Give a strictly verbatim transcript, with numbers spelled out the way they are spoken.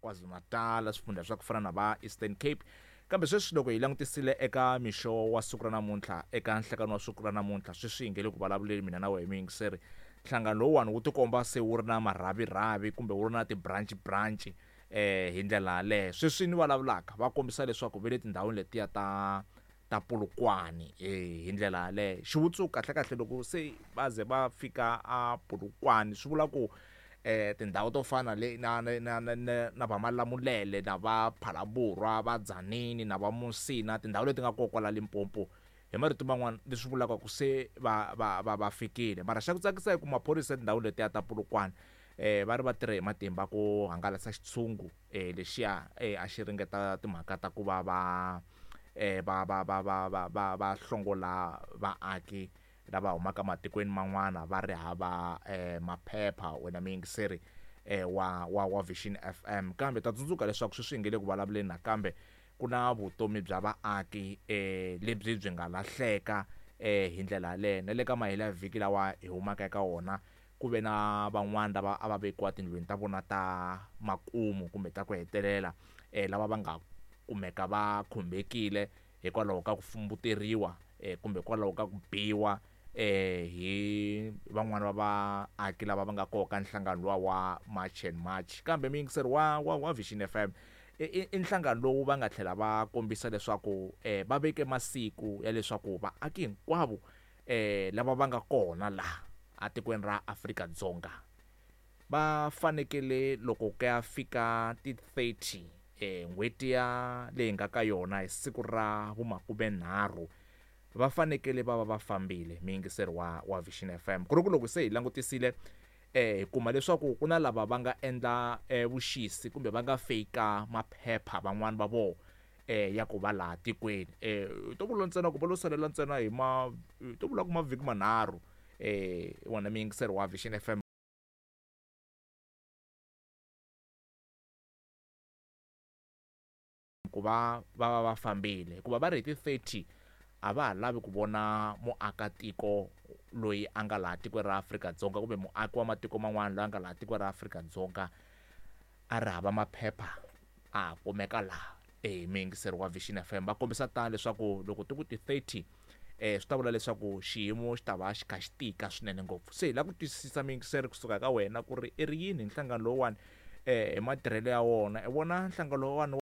KwaZulu-Natal, swifundza swa ku fana na va Eastern Cape. Kambe sweswi loko hi langutisile eka mixo wa siku ra namuntlha, eka nhlekani wa siku ra namuntlha, sweswi hi nge le ku vulavuleni mina na wehe muyingiseri, nhlangano lowuwani wu tikomba se wu ri na marhavirhavi kumbe wu ri na ti-branch branch eh hi ndlela yaleyo. Sweswi ni vulavulaka va kombisa leswaku va le tindhawini letiya ta ta Polokwane eh hi ndlela yaleyo. Xivutiso kahle kahle loko se va ze va fika a Polokwane swi vula ku eh tindhawu to fana le na na na na na va Malamulele na va Phalaborwa, va Tzaneen na va Musina, tindhawu leti nga kona kwala Limpopo, hi marito man'wana leswi vulaka ku se va va va va fikile. Mara xa ku tsakisa i ku maphorisa etindhawini letiya ta Polokwane eh va ri va tirhe hi matimba ku hangalasa xitshungu eh lexiya eh a xi ringeta timhaka ta ku va va eh va va va va va va va hlongola vaaki lava humaka matikweni man'wana va ri hava eh maphepha, wena muyingiseri eh wa wa wa Vision F M. Kambe ta tsundzuka leswaku sweswi hi nge le ku vulavuleni nakambe ku na vutomi bya vaaki eh lebyi byi nga lahleka eh hi ndlela yaleyo. Na le ka mahelo ya vhiki lawa hi humaka eka wona ku ve na van'wana lava a va vekiwa tindlwini ta vona ta makumu kumbe ta ku hetelela eh lava va nga kumeka va khumbekile hikwalaho ka ku fumbuteriwa eh kumbe hikwalaho ka ku biwa eh hi van'wana va vaaki lava va nga koka nhlangano luwa wa March and March. Kambe muyingiseri wa, wa, wa Vision F M i, i nhlangano lowu va nga tlhela va kombisa leswaku eh va veke masiku ya leswaku vaaki hinkwavo eh lava va nga kona laha atikweni ra Afrika-Dzonga va fanekele loko ku ya fika ti thirty eh n'hweti ya leyi nga ka yona hi siku ra vumakumenharhu va fanekele va va va fambile, muyingiseri wa, wa Vision F M. Ku ri ku loko se hi langutisile eh hi kuma leswaku ku na lava va nga endla eh vuxisi kumbe va nga fake maphepha van'wani va vona eh ya ku va laha tikweni. Eh to vula ntsena ku va lo salela ntsena hi ma, to vula ku mavhiki manharhu eh wona muyingiseri wa Vision F M. Ku va va va va fambile hikuva va ri hi ti thirty a va ha lavi ku vona muakatiko loyi a nga laha tikweni ra Afrika-Dzonga kumbe muaki wa matiko man'wana loyi a nga laha tikweni ra Afrika-Dzonga a ri hava maphepha a kumeka laha. Eh muyingiseri wa Vision F M va kombisa tano leswaku loko ti ku ti thirty eh swi ta vula leswaku xiyimo xi ta va xi kha xi tika swinene ngopfu. Se hi lava ku twisisa muyingiseri kusuka ka wena ku ri i ri yini nhlangano lowuwani eh hi matirhelo ya wona, i vona nhlangano lowuwani